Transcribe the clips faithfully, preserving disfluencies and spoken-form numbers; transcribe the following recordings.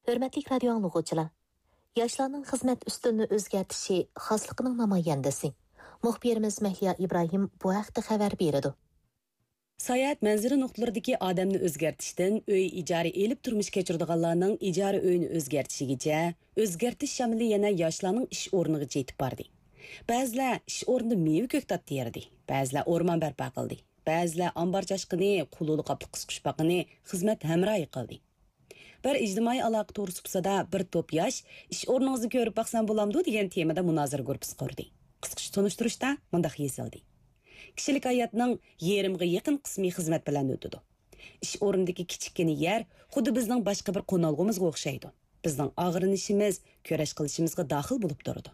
ھۆرمەتلىك رادىيو ئاڭلىغۇچىلار! ياشلارنىڭ خىزمەت ئۈستىلىنى ئۆزگەرتىشى خاسلىقىنىڭ نامايەندىسى. مۇخبىرىمىز مەھلىيا ئىبراھىم بۇ ھەقتە خەۋەر بېرىدۇ. ساياھەت مەنزىرە نۇقتىلىرىدىكى ئادەمنى ئۆزگەرتىشتىن ئۆي ئىجارە ئېلىپ تۇرمۇش كەچۈرىدىغانلارنىڭ ئىجارە ئۆيىنى ئۆزگەرتىشىگىچە، ئۆزگەرتىش شامىلى يەنە ياشلارنىڭ ئىش ئورنىغىچە يېتىپ باردى. بەزىلەر ئىش ئورنىدا مېۋە كۆكتات تېرىدى، بەزىلەر ئورمان بەرپا قىلدى، بەزىلەر ئامبار چاشقىنى، قۇلۇلۇق قاپلىق قىسقۇچپاقىنى خىزمەت ھەمراھى قىلدى. بىر ئىجتىمائىي ئالاقە تورى سۇپىسىدا بىر توپ ياش «ئىش ئورنىڭىزنى كۆرۈپ باقسام بولامدۇ؟» دېگەن تېمىدا مۇنازىرە گۇرۇپپىسى قۇردى. قىسقىچە تونۇشتۇرۇشتا مۇنداق يېزىلدى: كىشىلىك ھاياتنىڭ يېرىمغا يېقىن قىسمى خىزمەت بىلەن ئۆتىدۇ. ئىش ئورنىدىكى كىچىككىنە يەر خۇددى بىزنىڭ باشقا بىر قونالغۇمىزغا ئوخشايدۇ. بىزنىڭ ئاغرىنىشىمىز، كۈرەش قىلىشىمىزغا داخىل بولۇپ تۇرىدۇ.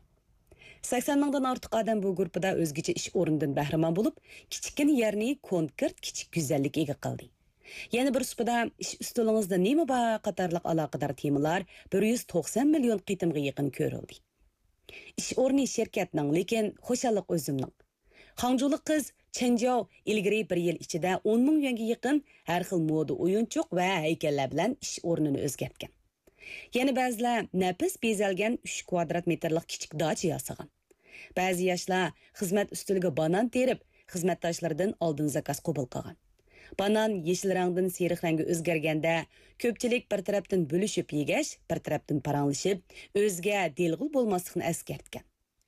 سەكسەن مىڭدىن ئارتۇق ئادەم بۇ گۇرۇپپىدا ئۆزگىچە ئىش ئورنىدىن بەھرىمەن بولۇپ، كىچىككىنە يەرنى كونكرېت كىچىك گۈزەللىككە ئىگە قىلدى. يەنە بىر سۇپىدا «ئىش ئۈستىلىڭىزدە نېمە بار؟» قاتارلىق ئالاقىدار تېمىلار بىر يۈز توقسان مىليون قېتىمغا يېقىن كۆرۈلدى. ئىش ئورنى شىركەتنىڭ، لېكىن خۇشاللىق ئۆزۈمنىڭ. خاڭجۇلۇق قىز چېن جياۋ ئىلگىرى بىر يىل ئىچىدە ئون مىڭ يۈەنگە يېقىن ھەر خىل مودا ئويۇنچۇق ۋە ھەيكەللەر بىلەن ئىش ئورنىنى ئۆزگەرتكەن. يەنە بەزىلەر نەپىس بېزەلگەن ئۈچ كۋادرات مېتىرلىق كىچىك داچا ياسىغان. بەزى ياشلار خىزمەت ئۈستىلىگە بانان تېرىپ، خىزمەتداشلىرىدىن ئالدىن زاكاز قوبۇل قىلغان. بانان يېشىل رەڭدىن سېرىق رەڭگە ئۆزگەرگەندە، كۆپچىلىك بىر تەرەپتىن بۆلۈشۈپ يېگەچ، بىر تەرەپتىن پاراڭلىشىپ، ئۆزىگە دىلغۇل بولماسلىقنى ئەسكەرتكەن.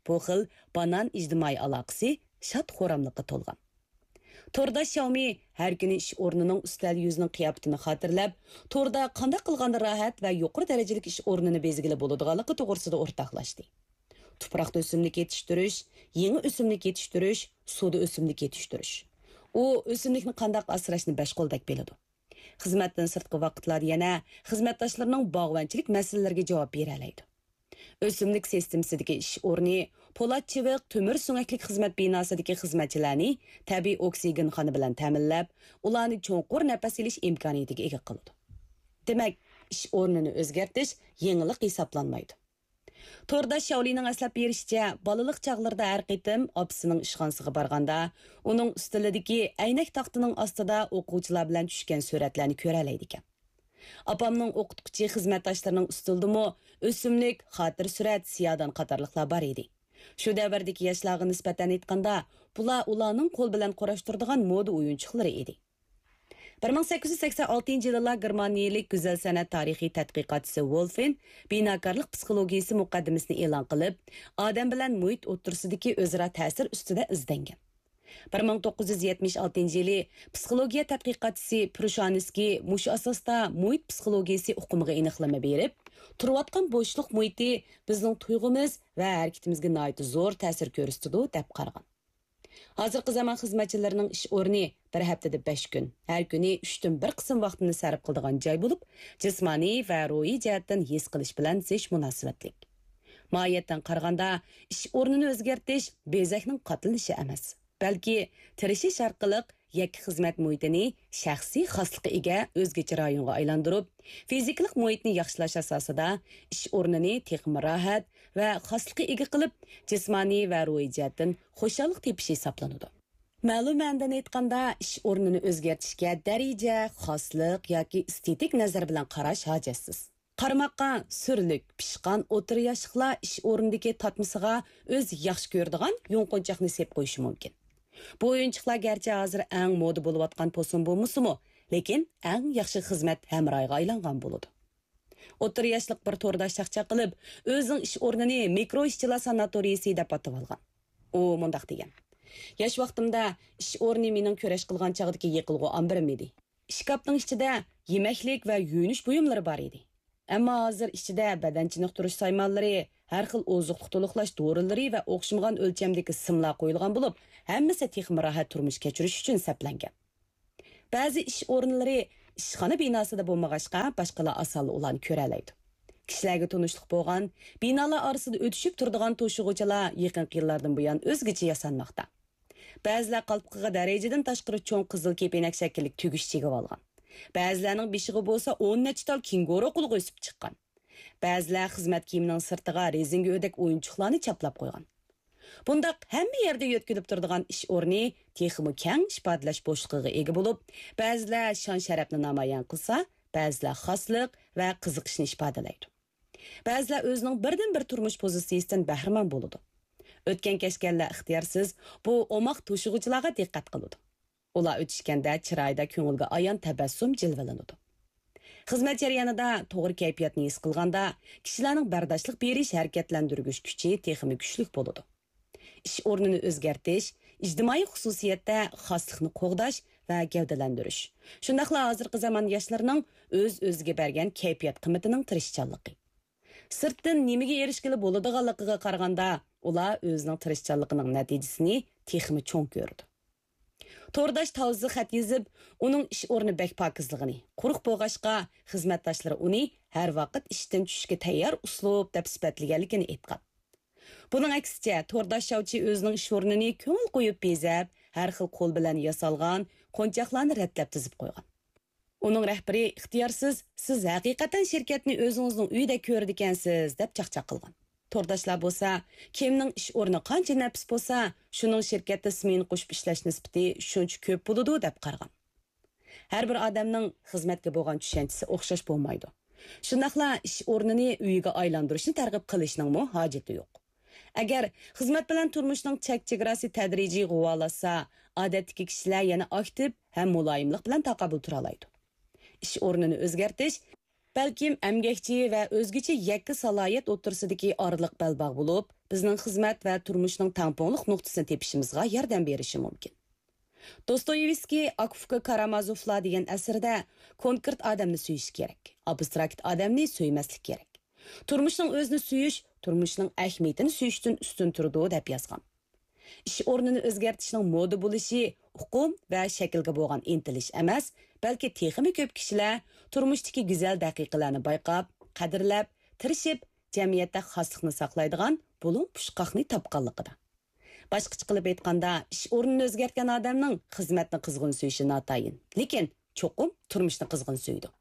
بۇ خىل بانان ئىجتىمائىي ئالاقىسى شاد-خۇراملىققا تولغان. تورداش شياۋمى ھەر كۈنى ئىش ئورنىنىڭ ئۈستەل يۈزىنىڭ قىياپىتىنى خاتىرىلەپ، توردا قانداق قىلغاندا راھەت ۋە يۇقىرى دەرىجىلىك ئىش ئورنىنى بەزگىلى بولىدىغانلىقى توغرىسىدا ئورتاقلاشتى. تۇپراقتا ئۆسۈملۈك يېتىشتۈرۈش، يېڭى ئۆسۈملۈك يېتىشتۈرۈش، سۇدا ئۆسۈملۈك يېتىشتۈرۈش. ئۇ ئۆسۈملۈكنى قانداق ئاسراشنى بەش قولدەك بىلىدۇ. خىزمەتتىن سىرتقى ۋاقىتلاردا يەنە خىزمەتداشلىرىنىڭ باغۋەنچىلىك مەسىلىلىرىگە جاۋاب بېرەلەيدۇ. ئۆسۈملۈك سىستېمىسىدىكى ئىش ئورنى پولات چىۋىق تۆمۈر سۆڭەكلىك خىزمەت بىناسىدىكى خىزمەتچىلەرنى تەبىئىي ئوكسىگېنخانا بىلەن تەمىنلەپ، ئۇلارنى چوڭقۇر نەپەس ئېلىش ئىمكانىيىتىگە ئىگە قىلىدۇ. دېمەك، ئىش ئورنىنى ئۆزگەرتىش يېڭىلىق ھېسابلانمايدۇ. تورداش شياۋلىنىڭ ئەسلەپ بېرىشىچە، بالىلىق چاغلىرىدا ھەر قېتىم ئاپىسىنىڭ ئىشخانىسىغا بارغاندا، ئۇنىڭ ئۈستىلىدىكى ئەينەك تاختىنىڭ ئاستىدا ئوقۇغۇچىلار بىلەن چۈشكەن سۈرەتلەرنى كۆرەلەيدىكەن. ئاپامنىڭ ئوقۇتقۇچى خىزمەتداشلىرىنىڭ ئۈستىلىدىمۇ ئۆسۈملۈك، خاتىرە سۈرەت، سىيادان قاتارلىقلار بار ئىدى. شۇ دەۋردىكى ياشلارغا نىسبەتەن ئېيتقاندا، بۇلار ئۇلارنىڭ قول بىلەن قۇراشتۇرىدىغان مودا ئويۇنچۇقلىرى ئىدى. بىر مىڭ سەككىز يۈز سەكسەن ئالتىنچى يىلىلا گېرمانىيەلىك گۈزەل سەنئەت تارىخىي تەتقىقاتچىسى ۋولفېن بىناكارلىق پسىخولوگىيىسى مۇقەددىمىسىنى ئېلان قىلىپ، ئادەم بىلەن مۇھىت ئوتتۇرىسىدىكى ئۆزئارا تەسىر ئۈستىدە ئىزدەنگەن. بىر مىڭ توققۇز يۈز يەتمىش ئالتىنچى يىلى پسىخولوگىيە تەتقىقاتچىسى پرۇشانسكىي مۇشۇ ئاساستا مۇھىت پسىخولوگىيىسى ئۇقۇمىغا ئېنىقلىما بېرىپ، تۇرۇۋاتقان بوشلۇق مۇھىتى بىزنىڭ تۇيغۇمىز ۋە ھەرىكىتىمىزگە ناھايىتى زور تەسىر كۆرسىتىدۇ، دەپ قارىغان. ھازىرقى زامان خىزمەتچىلىرىنىڭ ئىش ئورنى بىر ھەپتىدە بەش كۈن، ھەر كۈنى ئۈچتىن بىر قىسىم ۋاقتىنى سەرپ قىلىدىغان جاي بولۇپ، جىسمانىي ۋە روھىي جەھەتتىن ھېس قىلىش بىلەن زىچ مۇناسىۋەتلىك. ماھىيەتتىن قارىغاندا، ئىش ئورنىنى ئۆزگەرتىش بېزەكنىڭ قاتلىنىشى ئەمەس، بەلكى تىرىشىش ئارقىلىق يەككە خىزمەت مۇھىتىنى شەخسىي خاسلىققا ئىگە ئۆزگىچە رايونغا ئايلاندۇرۇپ، فىزىكىلىق مۇھىتنى ياخشىلاش ئاساسىدا ئىش ئورنىنى تېخىمۇ راھەت ۋە خاسلىققا ئىگە قىلىپ، جىسمانىي ۋە روھىي جەھەتتىن خۇشاللىق تېپىش ھېسابلىنىدۇ. مەلۇم مەنىدىن ئېيتقاندا، ئىش ئورنىنى ئۆزگەرتىشكە دەرىجە، خاسلىق ياكى ئېستېتىك نەزەر بىلەن قاراش ھاجەتسىز. قارىماققا سۈرلۈك، پىشقان ئوتتۇرا ياشلىقلار ئىش ئورنىدىكى تارتمىسىغا ئۆزى ياخشى كۆرىدىغان يۇڭقۇنچاقنى سېپ قويۇشى مۇمكىن. بۇ ئويۇنچۇقلار گەرچە ھازىر ئەڭ مودا بولۇۋاتقان پوسۇن بولمىسىمۇ، لېكىن ئەڭ ياخشى خىزمەت ھەمراھىغا ئايلانغان بولىدۇ. ئوتتۇرا ياشلىق بىر تورداش چاقچاق قىلىپ، ئۆزىنىڭ ئىش ئورنىنى مىكرو ئىشچىلار ساناتورىيىسى دەپ ئاتىۋالغان. ئۇ مۇنداق دېگەن: «ياش ۋاقتىمدا ئىش ئورنى مېنىڭ كۈرەش قىلغان چاغدىكى يېقىلغۇ ئامبىرىم ئىدى. ئىشكاپنىڭ ئىچىدە يېمەكلىك ۋە يۇيۇنۇش بۇيۇملىرى بار ئىدى. ئەمما ھازىر ئىچىدە بەدەن چېنىقتۇرۇش سايمانلىرى، ھەر خىل ئوزۇقلۇق تولۇقلاش دورىلىرى ۋە ئوخشىمىغان ئۆلچەمدىكى سىملار قويۇلغان بولۇپ، ھەممىسى تېخىمۇ راھەت تۇرمۇش كەچۈرۈش ئۈچۈن سەپلەنگەن.» بەزى ئىش ئورۇنلىرى ئىشخانا بىناسىدا بولمىغاچقا، باشقىلار ئاسانلا ئۇلارنى كۆرەلەيدۇ. كىشىلەرگە تونۇشلۇق بولغان، بىنالار ئارىسىدا ئۆتۈشۈپ تۇرىدىغان توشۇغۇچىلار يېقىنقى يىللاردىن بۇيان ئۆزگىچە ياسانماقتا. بەزىلەر قالپىقىغا دەرىجىدىن تاشقىرى چوڭ قىزىل كېپىنەك شەكىللىك تۈگۈش چىگىۋالغان. بەزىلەرنىڭ بېشىغا بولسا ئون نەچچە تال كېڭگورو قۇلىقى ئۆسۈپ چىققان. بەزىلەر خىزمەت كىيىمىنىڭ سىرتىغا رېزىنكە ئۆدەك ئويۇنچۇقلارنى چاپلاپ قويغان. بۇنداق ھەممە يەردە يۆتكىلىپ تۇرىدىغان ئىش ئورنى تېخىمۇ كەڭ ئىپادىلەش بوشلۇقىغا ئىگە بولۇپ، بەزىلەر شان-شەرەپنى نامايان قىلسا، بەزىلەر خاسلىق ۋە قىزىقىشنى ئىپادىلەيدۇ. بەزىلەر ئۆزىنىڭ بىردىنبىر تۇرمۇش پوزىتسىيىسىدىن بەھرىمەن بولىدۇ. ئۆتكەن-كەچكەنلەر ئىختىيارسىز بۇ ئوماق توشۇغۇچىلارغا دىققەت قىلىدۇ. ئۇلار ئۆتۈشكەندە چىرايىدا كۆڭۈلگە ئايان تەبەسسۇم جىلۋىلىنىدۇ. خىزمەت جەريانىدا توغرا كەيپىياتنى ھېس قىلغاندا، كىشىلەرنىڭ بەرداشلىق بېرىش ھەرىكەتلەندۈرگۈچ كۈچى تېخىمۇ كۈچلۈك بولىدۇ. ئىش ئورنىنى ئۆزگەرتىش، ئىجتىمائىي خۇسۇسىيەتتە خاسلىقنى قوغداش ۋە گەۋدىلەندۈرۈش، شۇنداقلا ھازىرقى زامان ياشلىرىنىڭ ئۆز-ئۆزىگە بەرگەن كەيپىيات قىممىتىنىڭ تىرىشچانلىقى. سىرتتىن نېمىگە ئېرىشكىلى بولىدىغانلىقىغا قارىغاندا، ئۇلار ئۆزىنىڭ تىرىشچانلىقىنىڭ نەتىجىسىنى تېخىمۇ چوڭ كۆرىدۇ. تورداش تاۋزا خەت يېزىپ، ئۇنىڭ ئىش ئورنى بەك پاكىزلىغىنى، قۇرۇق بولغاچقا، خىزمەتداشلىرى ئۇنى ھەر ۋاقىت ئىشتىن چۈشۈشكە تەييار ئۇسلۇب دەپ سۈپەتلىگەنلىكىنى ئېيتقان. بۇنىڭ ئەكسىچە، تورداش شاۋچى ئۆزىنىڭ ئىش ئورنىنى كۆڭۈل قويۇپ بېزەپ، ھەر خىل قول بىلەن ياسالغان قونچاقلارنى رەتلەپ تىزىپ قويغان. ئۇنىڭ رەھبىرى ئىختىيارسىز، «سىز ھەقىقەتەن شىركەتنى ئۆزىڭىزنىڭ ئۆيىدەك كۆرىدىكەنسىز» دەپ چاقچاق قىلغان. تورداشلار بولسا، «كىمنىڭ ئىش ئورنى قانچە نەپىس بولسا، شۇنىڭ شىركەتتە سمېنا قوشۇپ ئىشلەش نىسبىتى شۇنچە كۆپ بولىدۇ» دەپ قارىغان. ھەر بىر ئادەمنىڭ خىزمەتكە بولغان چۈشەنچىسى ئوخشاش بولمايدۇ. شۇنداقلا ئىش ئورنىنى ئۆيگە ئايلاندۇرۇشنى تەرغىب قىلىشنىڭمۇ ھاجىتى يوق. ئەگەر خىزمەت بىلەن تۇرمۇشنىڭ چەك-چېگراسى تەدرىجىي غۇۋالاشسا، ئادەتتىكى كىشىلەر يەنە ئاكتىپ ھەم مۇلايىملىق بىلەن تاقابىل تۇرالايدۇ. ئىش ئورنىنى ئۆزگەرتىش، بەلكىم ئەمگەكچى ۋە ئۆزگىچە يەككە سالاھىيەت ئوتتۇرىسىدىكى ئارىلىق بەلباغ بولۇپ، بىزنىڭ خىزمەت ۋە تۇرمۇشنىڭ تەڭپۇڭلۇق نۇقتىسىنى تېپىشىمىزغا ياردەم بېرىشى مۇمكىن. دوستويېۋسكىي «ئاكا-ئۇكا كارامازوفلار» دېگەن ئەسىرىدە، «كونكرېت ئادەمنى سۆيۈش كېرەك، ئابستراكت ئادەمنى سۆيمەسلىك كېرەك. تۇرمۇشنىڭ ئۆزىنى سۆيۈش تۇرمۇشنىڭ ئەھمىيىتىنى سۆيۈشتىن ئۈستۈن تۇرىدۇ» دەپ يازغان. ئىش ئورنىنى ئۆزگەرتىشنىڭ مودا بولۇشى ئۇقۇم ۋە شەكىلگە بولغان ئىنتىلىش ئەمەس، بەلكى تېخىمۇ كۆپ كىشىلەر تۇرمۇشتىكى گۈزەل دەقىقىلەرنى بايقاپ، قەدىرلەپ، تىرىشىپ، جەمئىيەتتە خاسلىقنى ساقلايدىغان بۇلۇڭ پۇچقاقنى تاپقانلىقىدا. باشقىچە قىلىپ ئېيتقاندا، ئىش ئورنىنى ئۆزگەرتكەن ئادەمنىڭ خىزمەتنى قىزغىن سۆيۈشى ناتايىن، لېكىن چوقۇم تۇرمۇشنى قىزغىن سۆيىدۇ.